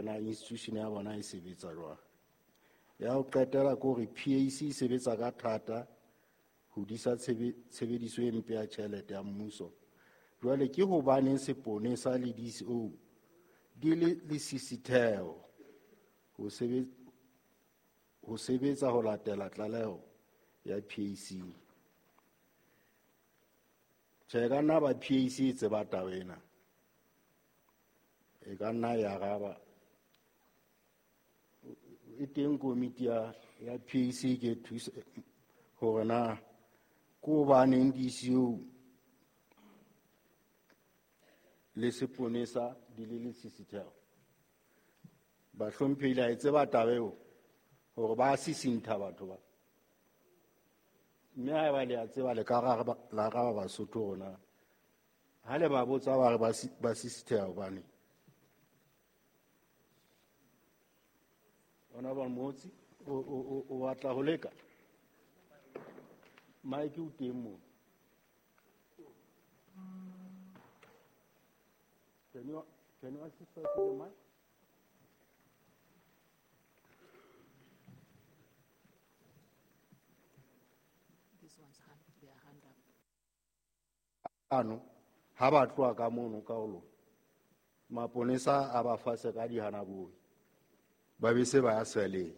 na institution ya bona e sebetsa jwang. Ya ho qetela ke hore PAC e sebetsa ka thata ho disa tshebediso e mpe ya tjhelete ya mmuso. Jwale ke hobaneng seponesa le DCO di le lesisitheho ho sebetsa ho latela tlaleho ya PAC. Tjhe, ka nna ba PAC e tseba taba ena. E ka nna ya araba. E teng komiti ya PAC ke thusa hore na ke hobaneng DCO le seponesa di le lesisitheho. Bahlomphehi la e tseba taba eo hore ba sisintha batho ba. Mme haeba le a tseba le ka la araba Basotho rona. Ha le ba botsa ba re ba sisitheha hobane. Honorable Motsi, o batla ho leka? Mike o teng moo. Can you assist us with the mic? This one's hand, their hand up. Ano, ha ba tloha ka mono ka ho lona. Maponesa a ba fase ka dihana boi. Ba be se ba ya seleng.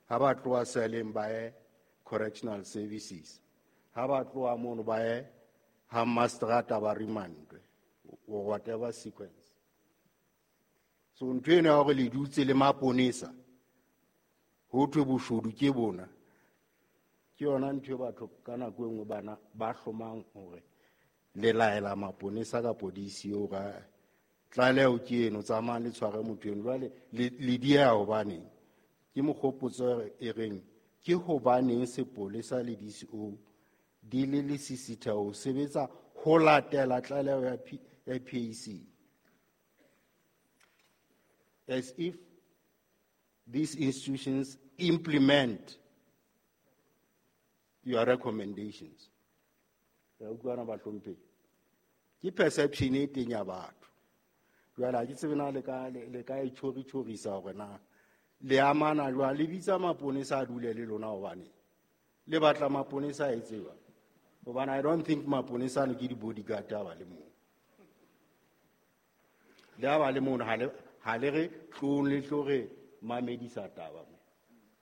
Ha ba tloha seleng ba ye correctional services. Ha ba tloha mono ba ye ha mastrata ba remandwe or whatever sequence. So ntho ena ya hore le dutse le maponesa ho thwe boshodu ke bona. Ke yona ntho e batho ka nako e nngwe bana ba hlomang hore le laela maponesa kapo DCO ka tlaleho ke eno, tsamayang le tshware motho eno. Jwale le dieha hobaneng? Ke mokgopotso e reng ke hobaneng sepolesa le DCO di le lesisitheho ho sebetsa ho latela tlaleho ya PAC. As if these institutions implement your recommendations. Re utlwana bahlomphehi. Ke perception e teng ya batho. Jwale ha ke tsebe na le ka e tjhori-tjhorisa hore na le amana jwang, le bitsa maponesa a dule le lona hobane le batla maponesa a e tseba. Hobane I don't think maponesa ano ke di-bodyguard ha ba le moo. Le ha ba le mono, ha le re tlong le tlo re mamedisa taba mo.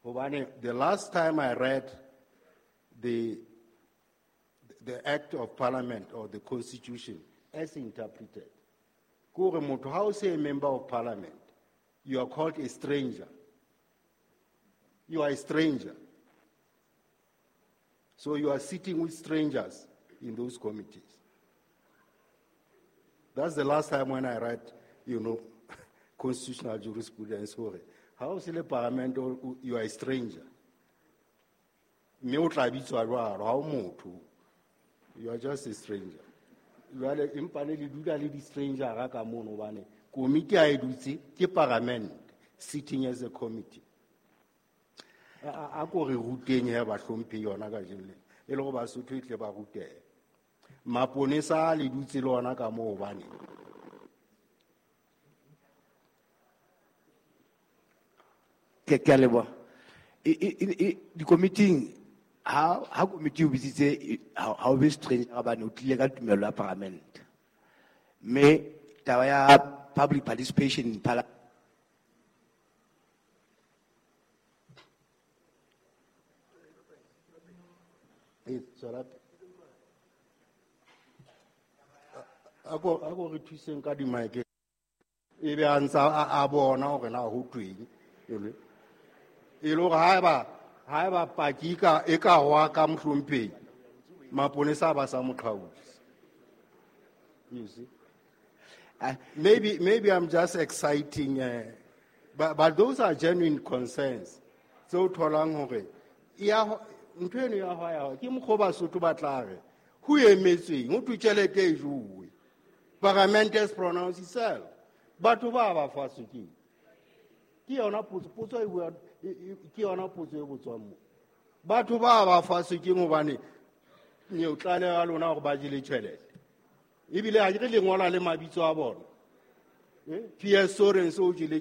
Hobane the last time I read the Act of Parliament or the Constitution as interpreted, ke hore motho ha o se a member of parliament, you are called a stranger. You are a stranger. So you are sitting with strangers in those committees. That's the last time when I read, you know, constitutional jurisprudence. How is the parliament, you are a stranger? Mme o tla bitswa jwalo, ha o motho. You are just a stranger. Jwale empa le dula le di-stranger ka mono hobane komiti ha e dutse ke parliament sitting as a committee. A ko re ruteng he bahlomphehi yona kajeno lena, e le hore Basotho e tle ba rutehe. Maponesa le dutse le ona ka moo hobane. Ke a leboha. Dikomiting ha komiti o bitsitse ha o be stranger hobane o tlile ka tumelo ya parliament. Mme taba ya public participation in parliament. A ko re thuseng ka di-mic. E be a ntsa a bona hore na ho tweng. E le hore haeba paki e ka hwa ka mohlomphehi, maponesa ba sa mo qhautse. You see? Maybe I'm just exciting, but those are genuine concerns. Tseo tholang hore ya ntho eno ya hwa ya ke mokgwa Basotho ba tla re ho emetsweng ho thwe tjhelete e jowe. Parliament has pronounced itself. Batho ba ba fatshe ke yona potso e bua ke yona potso e botswang mo. Batho ba ba fatshe ke hobane ne o tlaleha lona hore ba jele tjhelete. Ebile ha ke re le ngola le mabitso a bona. PS Sorense o jele